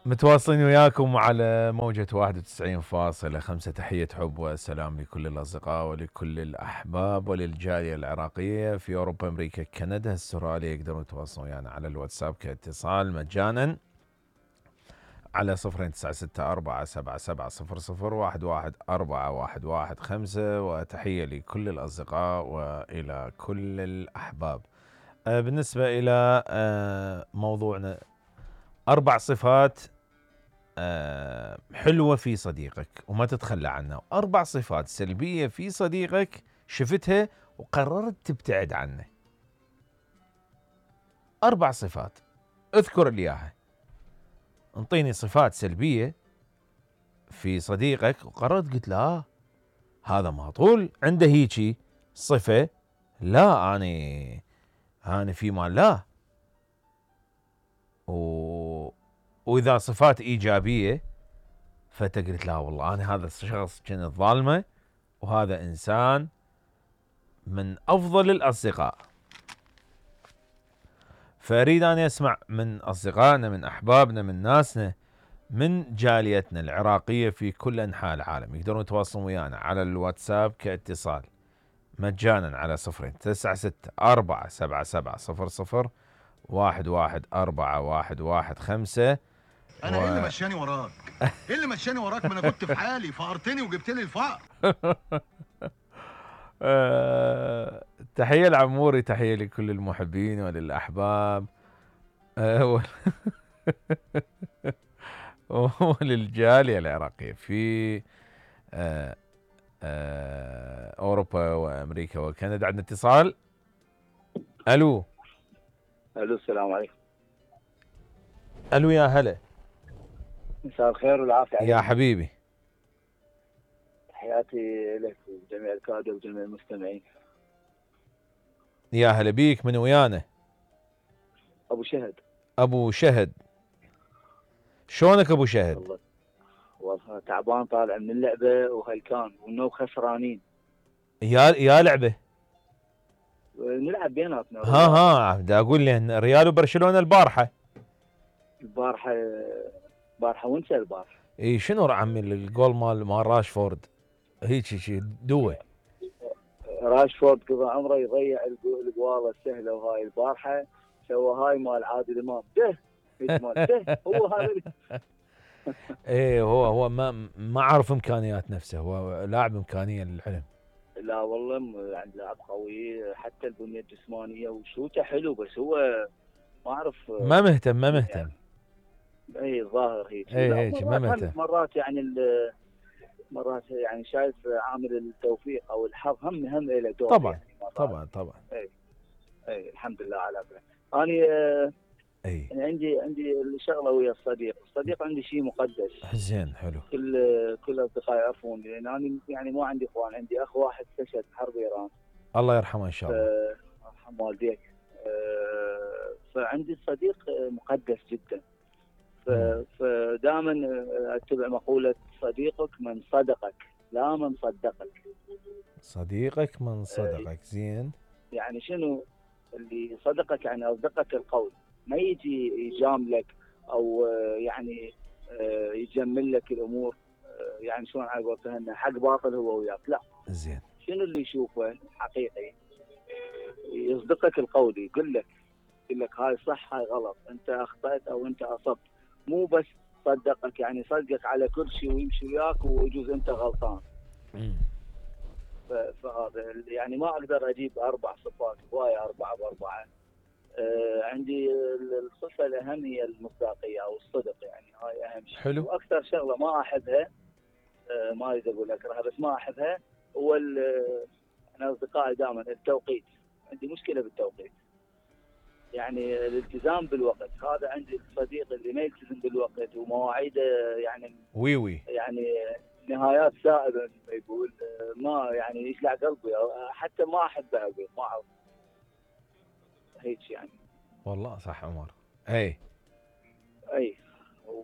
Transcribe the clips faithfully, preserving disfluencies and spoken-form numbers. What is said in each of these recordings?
متواصلين وياكم على موجة واحد وتسعين فاصلة خمسة. تحية حب وسلام لكل الأصدقاء ولكل الأحباب وللجالية العراقية في أوروبا، أمريكا، كندا، استراليا. يقدرون يتواصلون ويانا على الواتساب كاتصال مجانا على صفرين تسعة ستة أربعة سبعة سبعة صفر صفر واحد واحد أربعة واحد واحد خمسة. وتحية لكل الأصدقاء وإلى كل الأحباب. بالنسبة إلى موضوعنا، أربع صفات حلوة في صديقك وما تتخلى عنها، أربع صفات سلبية في صديقك شفتها وقررت تبتعد عنه. أربع صفات اذكر لي إياها. انطيني صفات سلبية في صديقك وقررت قلت له آه هذا ما طول عنده هيجي صفة، لا أنا أنا في مال لا. و... وإذا صفات إيجابية فتقلت لا والله أنا هذا الشخص كان ظالمة وهذا إنسان من أفضل الأصدقاء. فأريد أن أسمع من أصدقائنا، من أحبابنا، من ناسنا، من جاليتنا العراقية في كل أنحاء العالم. يقدرون يتواصلون ويانا على الواتساب كاتصال مجانا على صفرين تسعة ستة أربعة سبعة سبعة صفر صفر واحد واحد أربعة واحد واحد خمسة. انا و... ايه اللي مشاني وراك؟ ايه اللي مشاني وراك؟ ما انا كنت في حالي، فقرتني وجبت لي الفقر. أه... تحية العموري، تحية لكل المحبين وللأحباب أه... وللجالية العراقية في أه... أه... أوروبا وأمريكا وكندا. عندنا اتصال. ألو الو السلام عليكم. ألو يا هلا، مساء الخير والعافية يا حبيبي. تحياتي لك وجميع الكادر وجميع المستمعين. يا هلا بيك، من ويانا؟ ابو شهد. ابو شهد، شلونك ابو شهد؟ والله والله تعبان، طالع من اللعبة وهلكان وانه خسرانين. يا يا لعبة نلعب بيناتنا. ها ها دا اقول لي ريال وبرشلونة البارحة. البارحة البارحة وانسى البارحة. اي شنو عمي الجول مال مال راشفورد هيك شي دوه. راشفورد قضى عمره يضيع الجوال السهلة، وهاي البارحة سوى هاي مال عادل امام ده ده هو هذا. ايه هو هو ما ما عرف امكانيات نفسه، هو لاعب امكانيه للعلم. لا والله يعني لاعب قوي، حتى البنيه الجسمانيه وشوته حلو، بس هو ما اعرف ما مهتم ما مهتم يعني. اي الظاهر هيك. اي هيك ما مهتم. مرات يعني مرات يعني شايف عامل التوفيق او الحظ هم هم له دور. طبعا يعني طبعا طبعا. اي اي الحمد لله على كذا. انا اي يعني عندي عندي شغله ويا الصديق، الصديق عندي شيء مقدس. زين حلو. كل كل اصدقائي يعرفون، لان انا يعني مو عندي اخوان، عندي اخ واحد استشهد بحرب ايران. الله يرحمه ان شاء الله. يرحم والديك. فعندي الصديق مقدس جدا. فدائما اتبع مقوله صديقك من صدقك لا من صدقك. صديقك من صدقك. زين. يعني شنو اللي صدقك؟ يعني اصدقك القول، ما يجي يجاملك او يعني يجمل لك الامور، يعني شلون على قولتها حق باطل هو وياك، لا. زين. شنو اللي يشوفه حقيقي؟ يصدقك القول، يقول لك يقول لك هاي صح هاي غلط، انت اخطأت او انت اصبت، مو بس صدقك يعني صدقك على كل شيء ويمشي وياك ويجوز انت غلطان. فهذا يعني ما اقدر اجيب اربع صفات، هوايه اربعه باربعه. آه عندي الصفه الاهم هي المصداقيه او الصدق، يعني هاي اهم شيء. حلو. واكثر شغله ما احبها، آه ما اريد اقول اكرهها بس ما احبها، هو انا اصدقائي دائما التوقيت. عندي مشكله بالتوقيت، يعني الالتزام بالوقت. هذا عندي الصديق اللي ما يلتزم بالوقت ومواعيده يعني وي وي يعني نهايات سائبه مثل ما يقول، ما يعني يشلع قلبي، حتى ما احبه اقول ما اعرف هيك يعني. والله صح عمر. اي اي و...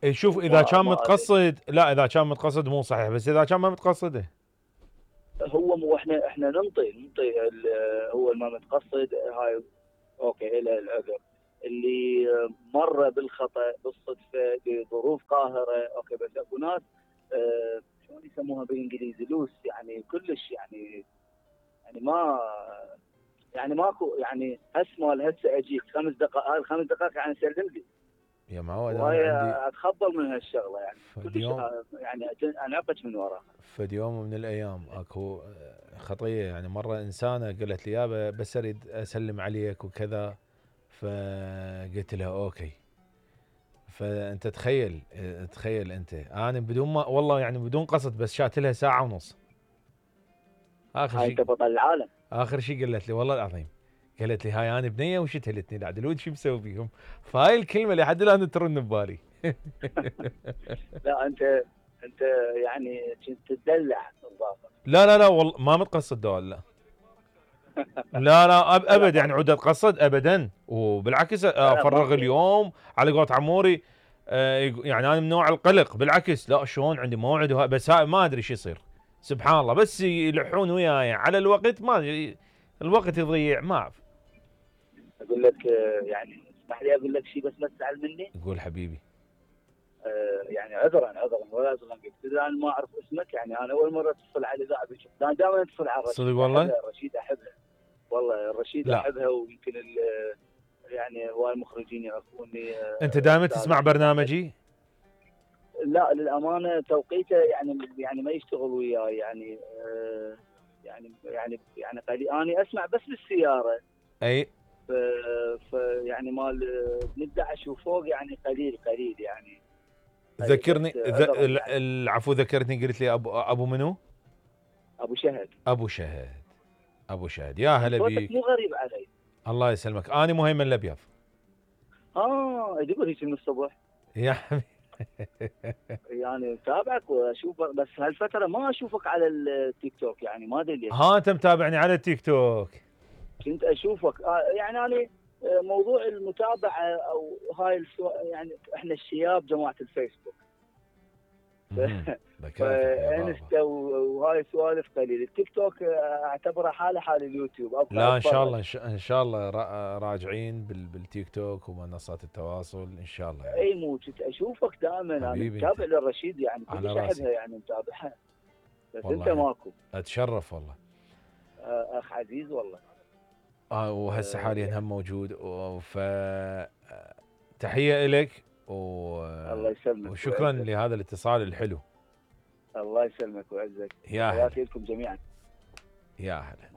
اي شوف اذا كان متقصد، لا اذا كان متقصد مو صحيح، بس اذا كان ما متقصده هو مو احنا احنا ننطي ننطي هو ما متقصد هاي اوكي له العذر. اللي ما مره بالخطا بالصدفه بظروف قاهره اوكي، بس اكو ناس آه شلون يسموها بالانجليزي لوس، يعني كلش يعني يعني ما يعني ماكو يعني هسه مال هسه اجيك خمس دقائق، هاي الخمس دقائق يعني سلم لي. يا معود انا وهي عندي اتخبل من هالشغله يعني فد كلش يوم آه، يعني أجن- انعقد من وراها. فد يوم من الايام اكو خطيه، يعني مره انسانه قالت لي يابا بس اريد اسلم عليك وكذا، فقلت لها اوكي. فانت تخيل تخيل انت انا بدون ما والله يعني بدون قصد بس شات لها ساعه ونص. اخر هاي شيء انت بطل العالم. اخر شيء قالت لي والله العظيم، قالت لي هاي انا بنيه وشتهلتني العدل شو مسوي بيهم. فهاي الكلمه لحد الان ترن ببالي. لا انت انت يعني كنت تدلع الظاهر. لا لا لا والله ما متقصد دول، لا لا لا أب ابد يعني عود اتقصد ابدا، وبالعكس افرغ اليوم على قولة عموري. آه يعني انا من نوع القلق بالعكس، لا شلون عندي موعد وها بس ما ادري شو يصير سبحان الله، بس يلحون وياي على الوقت ما الوقت يضيع ما اعرف. اقول لك آه، يعني اسمح لي اقول لك شيء بس ما تزعل مني. قول حبيبي. آه، يعني عذرا عذرا ولا عذرا اذا انا ما اعرف اسمك، يعني انا اول مره اتصل على الاذاعه بشوف، انا دائما اتصل على الرشيد. صدق والله؟ أحبها الرشيد احبها والله، الرشيد لا. احبها، ويمكن يعني هواي المخرجين يعرفوني. انت دائما تسمع برنامجي؟ لا للامانه توقيته يعني يعني ما يشتغل وياي يعني آه يعني يعني يعني قليل اني اسمع بس بالسياره. اي ف ف يعني مال من احد عشر وفوق يعني قليل قليل يعني. ذكرني ذ... يعني. العفو ذكرتني قلت لي ابو ابو منو؟ ابو شهد. ابو شهد ابو شهد يا هلا بيك. مو غريب علي. الله يسلمك، انا مهيمن الابيض. اه تقول هيك من الصبح يا حبيبي. يعني متابعك واشوفك، بس هالفتره ما اشوفك على التيك توك، يعني ما ادري ليش. ها انت متابعني على التيك توك؟ كنت اشوفك آه يعني انا موضوع المتابعه او هاي السو... يعني احنا الشياب جماعه الفيسبوك فانستا وهاي سوالف قليل. التيك توك اعتبره حاله حال اليوتيوب. لا ان شاء الله ان شاء الله راجعين بالتيك توك ومنصات التواصل ان شاء الله يعني. اي مو كنت اشوفك دائما، انا متابع للرشيد يعني كلش احبها يعني متابعها، بس انت ماكو. اتشرف والله اخ عزيز والله. اه وهسه حاليا هم موجود، ف تحيه لك و... الله يسلمك وشكرا وعزك. لهذا الاتصال الحلو. الله يسلمك ويعزك. يا حياتي لكم جميعا. يا هلا.